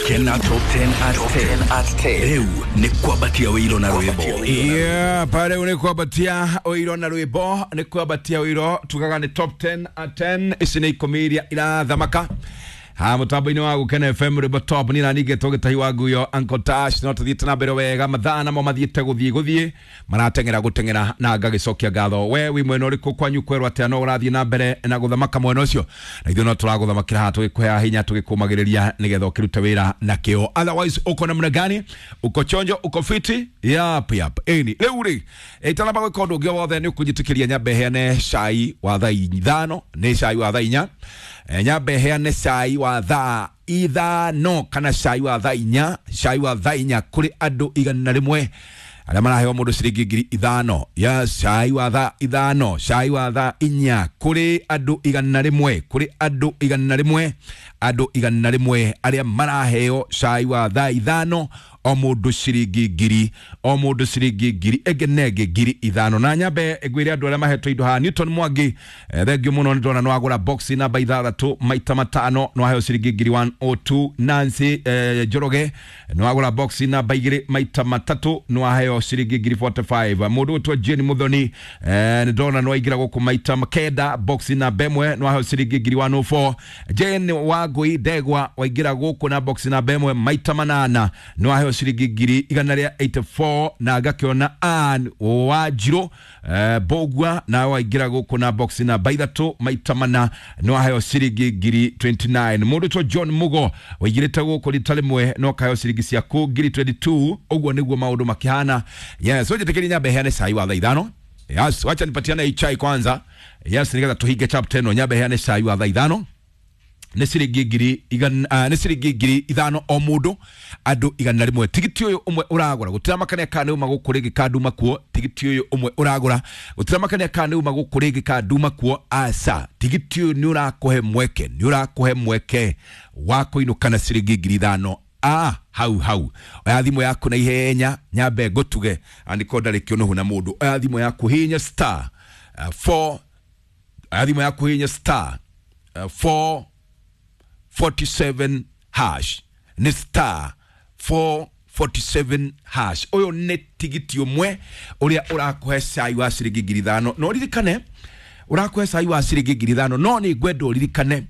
Gukena Top 10 at 10 at 10. Riu ni kwambatia wĩiro na rwĩmbo. Yeah, pale nĩ kwambatia ũiro na rwĩmbo, nĩ kwambatia ũiro tugaga nĩ top 10 at 10. Ici nĩ ikũmi iria irathamaka ha mutambo-inĩ wa Gukena FM, rwĩmbo top. Ni nani ngetwo gĩtahi wa nguyo Uncle Tash, no tũthiĩte na mbere wega. Mathaa namo mathiĩte gũthiĩ gũthiĩ, marateng'era gũteng'era na ngagĩcokia ngatho. We wĩ mwena ũrĩkũ? Kwanyu kwerwo atĩa? No ũrathiĩ na mbere na gũthamaka mwena ũcio, na ithuĩ no tũragũthamakĩra haha tũgĩkũheaga hinya, tũgĩkũmagĩrĩria nĩgetha ũkĩrute wĩra na kĩo. Otherwise uko namna gani? Uko chonjo? Uko fiti? Yap yap. Ĩni rĩu rĩ, itanamba gwĩka ũndũ ũngĩ o wothe, nĩ ũkũnjĩtĩkĩria nyambe heane cai wa thaa 5, nĩ cai wa thaa 4. Nyambe heane cai wa thaa 5 kana cai wa thaa 4, cai wa thaa 4 kũrĩ andũ 100 arĩa maraheo mũndũ ciringi 5,000. Ya cai wa thaa 5, cai wa thaa 4 kũrĩ andũ 100, kũrĩ andũ 100, andũ 100 arĩa maraheo cai wa thaa 5, o mũndũ ciringi ngiri, o mũndũ ciringi ngiri ĩngĩ na ĩngĩ 5,000. Na nyambe ngwĩre andũ arĩa mahetwo indo haha. Newton Mwangi, thengiũ mũno, nĩ ndona nĩwagũra box namba 6 maita 5, nĩwaheo ciringi ngiri 102. Nancy Njoroge, nĩwagũra box namba 2 maita 3, nĩwaheo ciringi ngiri 45. Mũndũ ũtwo Jane Muthoni, nĩ ndona nĩwaingĩra gũkũ maita 9, box namba 1, nĩwaheo ciringi ngiri 104. Jane Wangui Ndegwa, waingĩra gũkũ na box namba 1 maita 8, nĩwaheo ciringi ngiri 184. Na ngakĩona Ann Wanjirũ Mbũgua, nawe waingĩra gũkũ na box namba 3 maita 4, nĩwaheo ciringi ngiri 29. Mũndũ twa John Mugo, waingĩrĩte gũkũ rita rĩmwe, no kaheo ciringi ciaku ngiri 22. Ũguo nĩguo maũndũ makĩhana. Yes, ũnjĩtĩkĩrie nyambe heane cai wa thaa 5. Yes, wacha nipatiane hii chai kwanza. Yes, nigetha tuhinge chapter ĩno. Nyambe heane cai wa thaa 5, nĩ ciringi ngiri igana, nĩ ciringi 5,000 o mũndũ, andũ 100. Tigiti ũyũ ũmwe ũragũra, gũtiramakania kana nĩ uma gũkũ rĩngĩ ka nduma kuo. Tigiti ũyũ ũmwe ũragũra, gũtiramakania kana nĩ uma gũkũ rĩngĩ ka nduma kuo, aca. Tigiti ũyũ nĩ ũrakũhe mweke, nĩ ũrakũhe mweke wa kũinũka na ciringi 5,000. Ah, hau hau, oya thimũ yaku na ihenya, nyambe ngũtuge andĩko ndarĩ kĩũnũhu na mũndũ. Oya thimũ yaku, hihinya star 4, oya thimũ yaku, hihinya star 4 47 hash, nĩ star 447 hash. Ũyũ nĩ tigiti ũmwe ũrĩa ũrakũhe cai wa ciringi 5,000. No ririkane ũrakũhe cai wa ciringi 5,000, no nĩ ngwenda ũririkane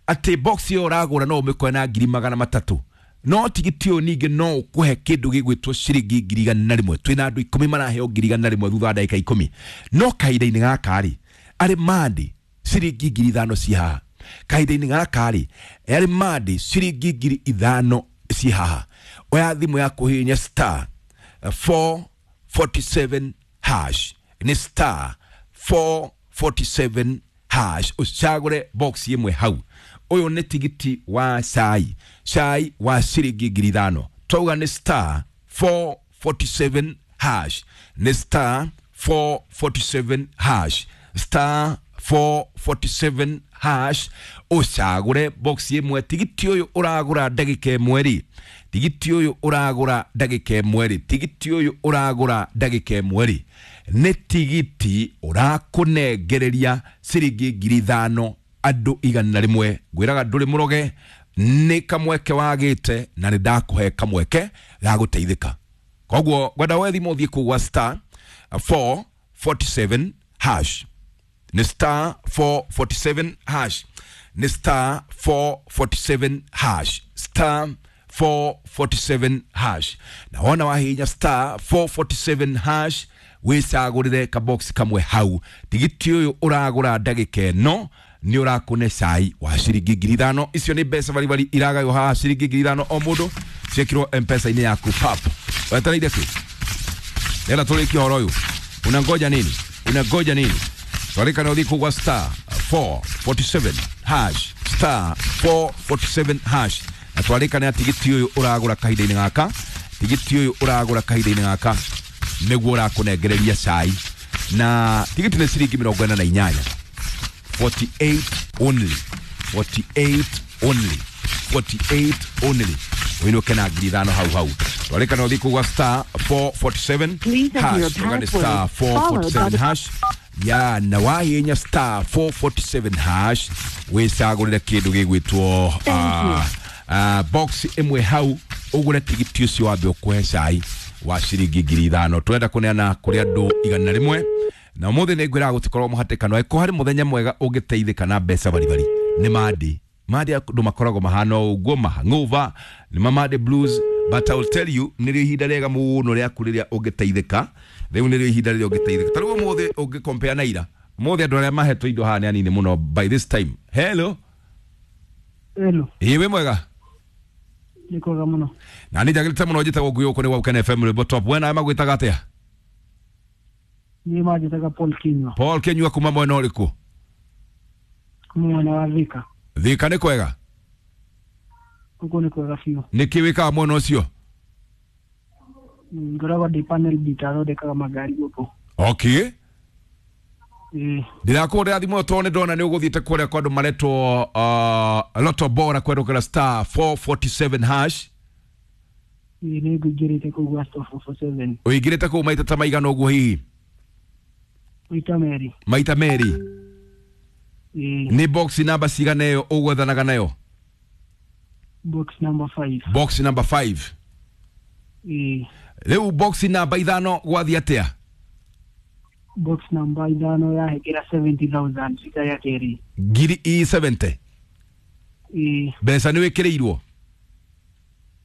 atĩ box ĩyo ũragũra no ũmĩkoe na 300,000, no tigiti ũyũ ningĩ no ũkũhe kĩndũ gĩgwĩtwo ciringi 100,000. Twĩna andũ 10 maraheo 100,000 thutha wa ndagĩka 10. No kahinda-inĩ gaka rĩ, arĩ mandi ciringi 5,000 ci haha. Kahinda-inĩ gaka rĩ, arĩ mandi ciringi 5,000 ci haha. Oya thimũ yaku, hihinya star 447 hash, nĩ star 447 hash, ũcagũre box ĩmwe hau. Ũyũ nĩ tigiti wa cai, cai wa ciringi 5,000. Twauga nĩ star 447 hash, nĩ star 447 hash, star 447 hash, ũcagũre box ĩmwe. Tigiti ũyũ ũragũra ndagĩka ĩmwe rĩ, tigiti ũyũ ũragũra ndagĩka ĩmwe rĩ, tigiti ũyũ ũragũra ndagĩka ĩmwe rĩ, nĩ tigiti ũrakũnengereria ciringi 5,000, andũ 100. Ngwĩraga ndũrĩ mũroge, nĩ kamweke wagĩte na nĩ ndakũhe kamweke ga gũteithĩka. Koguo ngwenda woe thimũ, ũthiĩ kũu gwa star 447 hash, nĩ star 447 hash, nĩ star 447 hash, star 447 hash. Na wona wahihinya star 447 hash, wĩcagũrĩre kabox kamwe hau. Tigiti ũyũ ũragũra ndagĩka ĩno nĩ ũrakũne cai wa ciringi 5,000. Icio nĩ mbeca baribari iragaywo haha, ciringi 5,000 o mũndũ, ciĩkĩrwo mpesa-inĩ yaku pap. Wetereire kĩ? Nenda tũrĩkie ũhoro ũyũ. Unangoja nini? Unangoja nini? Twarĩkana ũthiĩ kũu gwa star 447 hash, star 447 hash. Na twarĩkana tigiti ũyũ ũragũra kahinda-inĩ gaka, tigiti ũyũ ũragũra kahinda-inĩ gaka nĩguo ũrakũnengereria cai, na tigiti nĩ ciringi 48, 48 only, 48 only, 48 only, ũinũke na 5,000 hau hau. Twarĩkana ũthiĩ kũu gwa star 447 Please enter your hash. Tũgane password, star followed by 447 the hash ya na wahihinya star 447 hash, wĩcagũrĩre kĩndũ gĩgwĩtwo Thank you. Box ĩmwe hau ũgũre tigiti ũcio wambe ũkũhe cai wa ciringi 5,000. Tũrenda kũneana kũrĩ andũ 100 na ũmũthĩ nĩ ngwĩraga gũtikorwo mũhatĩkano. Angĩkorwo harĩ mũthenya mwega ũngĩteithĩka na mbeca baribari nĩ Monday. Monday andũ makoragwo mahana o ũguo, mahangover, nĩ ma Monday blues, but I will tell you nĩrĩo ihinda rĩega mũno rĩaku rĩrĩa ũngĩteithĩka. Rĩu nĩrĩo ihinda rĩrĩa ũngĩteithĩka. Ta rĩu ũmũthĩ ũngĩkompea na ira, ũmũthĩ andũ arĩa mahetwo indo haha nĩ anini mũno by this time. Hello. Hello. Ĩĩ, wĩ mwega? Nĩ kwega mũno. Na nĩ njagĩrĩte mũno. Njĩtagwo Ngui, gũkũ nĩ gwa Gũkena FM, rwĩmbo top. We nawe magwĩtaga atĩa? Niĩ manjĩtaga Paul Kinyua. Paul Kinyua kuma mwena ũrĩkũ? Kuma mwena wa Thika. Thika nĩ kwega? Gũkũ nĩ kwega biũ. Nĩkĩ wĩkaga mwena ũcio? Ngoragwo ndĩ panel beater, thondekaga magari gũkũ. Okay. Ĩĩ. Ndirakũhũrĩra thimũ tondũ nĩ ndona nĩ ũgũthiĩte kũrĩa kwa andũ maretwo Lotto Bora kwerũkĩra star 447 hash. Ĩĩ, nĩ ngũingĩrĩte kũu gwa star 447. Ũingĩrĩte kũu maita ta maigana ũguo hihi? Maita merĩ. Maita merĩ. Ĩĩ. Nĩ box namba cigana ĩyo ũgwethanaga nayo? Box number 5. Box number 5. Ĩĩ. Rĩu box namba 5 gwathiĩ atĩa? Box number 5 yahekera 70,000 rita ya kerĩ. Ngiri i 70? Ĩĩ. Mbeca nĩ wĩkĩrĩirwo?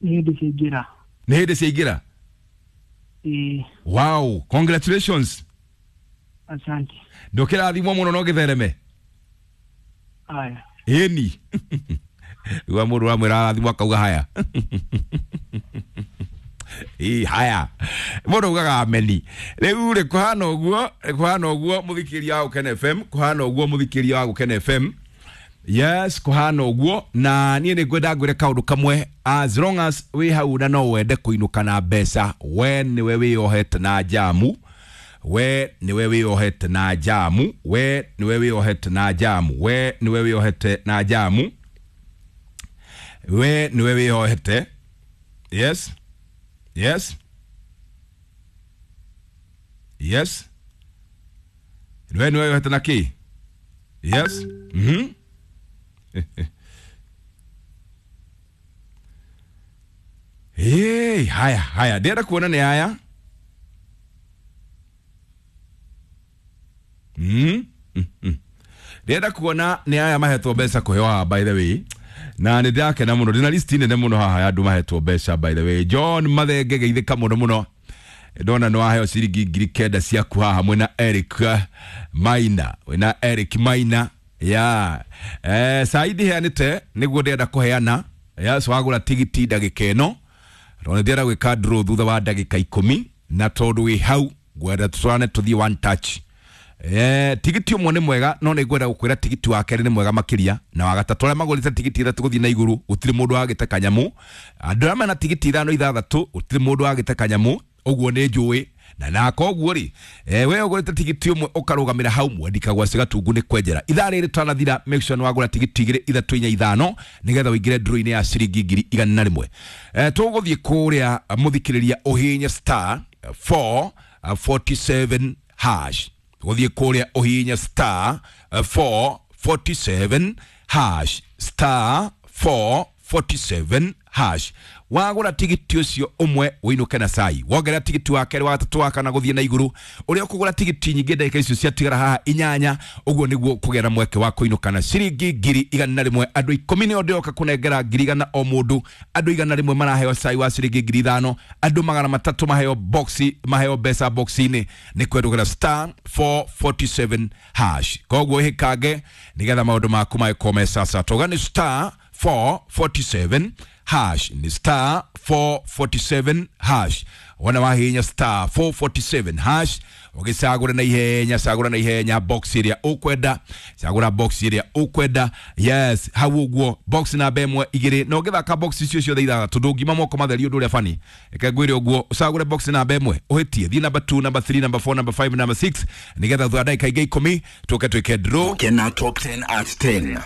Nĩ hĩndĩ ciaingĩra. Nĩ hĩndĩ ciaingĩra? Ĩĩ. Wow, congratulations. Asante. Ndũkĩrathimwo mũno no gĩthereme. Aya. Ĩni rĩu mũndũ ũramwĩra arathimwo akauga haya. Ĩ haya, mũndũ augaga ameni. Rĩu rĩ, kũhana ũguo, kũhana ũguo mũthikĩria wa Gũkena FM, kũhana ũguo mũthikĩria wa Gũkena FM. Yes, kũhana ũguo. Na niĩ nĩ ngwenda ngwĩre kaũndũ kamwe, as long as wĩ hau na no wende kũinũka na mbeca, we nĩwe wĩyohete na njamu, we nĩwe wĩyohete na njamu, we nĩwe wĩyohete na njamu, we nĩwe wĩyohete na njamu, we nĩwe wĩyohete. Yes, yes, yes, we nĩwe wĩyohete na kĩ? Yes. Hey, haya haya, ndĩrenda kuona nĩ aya. Ndĩrenda kuona nĩ aya mahetwo mbeca kũheo haha, by the way, na nĩ ndĩrakena mũno, ndĩna list nene mũno haha ya andũ mahetwo mbeca. By the way, John Mathenge, geithĩka mũno mũno, ndona nĩ waheo ciringi 9,000 ciaku haha mwĩna Eric Maina, wĩna Eric Maina ya saidi heanĩte nĩguo ndĩrenda kũheana. Yes, wagũra tigiti ndagĩka ĩno, tondũ nĩ ndĩrenda gwĩka draw thutha wa ndagĩka 10, na tondũ wĩ hau ngwenda tũtwarane tũthiĩ one touch. Tigiti ũmwe nĩ mwega, no nĩ ngwenda gũkwĩra tigiti wa kerĩ nĩ mwega makĩria na wa gatatũ. Arĩa magũrĩte tigiti 3 gũthiĩ na igũrũ, gũtirĩ mũndũ wagĩte kanyamũ. Andũ arĩa mena tigiti 5, 6, gũtirĩ mũndũ wagĩte kanyamũ, ũguo nĩ njũĩ. Na koguo rĩ, we ũgũrĩte tigiti ũmwe ũkarũgamĩra hau mwendika gwa Gatungu nĩ kwenjera ithaa rĩrĩ tanathira. Make sure nĩ wagũra tigiti 2, 3, 4, 5 nĩgetha ũingĩre draw-inĩ ya ciringi 100,000. Tũgũthiĩ kũrĩa mũthikĩrĩria ũhihinye star 447 hash. Gũthiĩ kũrĩa ũhihinye star 447 hash, star 447 hash. Wagũra tigiti ũcio ũmwe ũinũke na cai, wongerera tigiti wa kerĩ, wa gatatũ, wa kana gũthiĩ na igũrũ. Ũrĩa ũkũgũra tigiti nyingĩ ndagĩka icio ciatigara haha 8, ũguo nĩguo kũgĩa na mweke wa kũinũka na ciringi 100,000. Andũ 10 nĩo ndĩroka kũnengera 100,000 o mũndũ. Andũ 100 maraheo cai wa ciringi 5,000, andũ 300 maheo boxi, maheo mbeca boxi-inĩ nĩ kwendũgĩra star 447 hash. Koguo ĩhĩkange nĩgetha maũndũ maku magĩkorwo me sasa. Tauga nĩ star 447 hash, ni star 447 hash. Wona wahinya star 447 hash, ũgĩcagũra na ihenya, cagũra na ihenya box ĩrĩa ũkwenda, cagũra box ĩrĩa ũkwenda. Yes, hau ũguo, box namba 1, 2, na ũngĩthaka box icio ciothe 6 ndũngima moko matheri ũndũ ũrĩa bani. Reke ngwĩre ũguo, ũcagũre box namba 1, ũhĩtie, thiĩ namba 2, namba 3, namba 4, namba 5, namba 6, nĩgetha thutha wa ndagĩka ingĩ 10 tũke twĩke draw. Gũkena Top 10 at 10.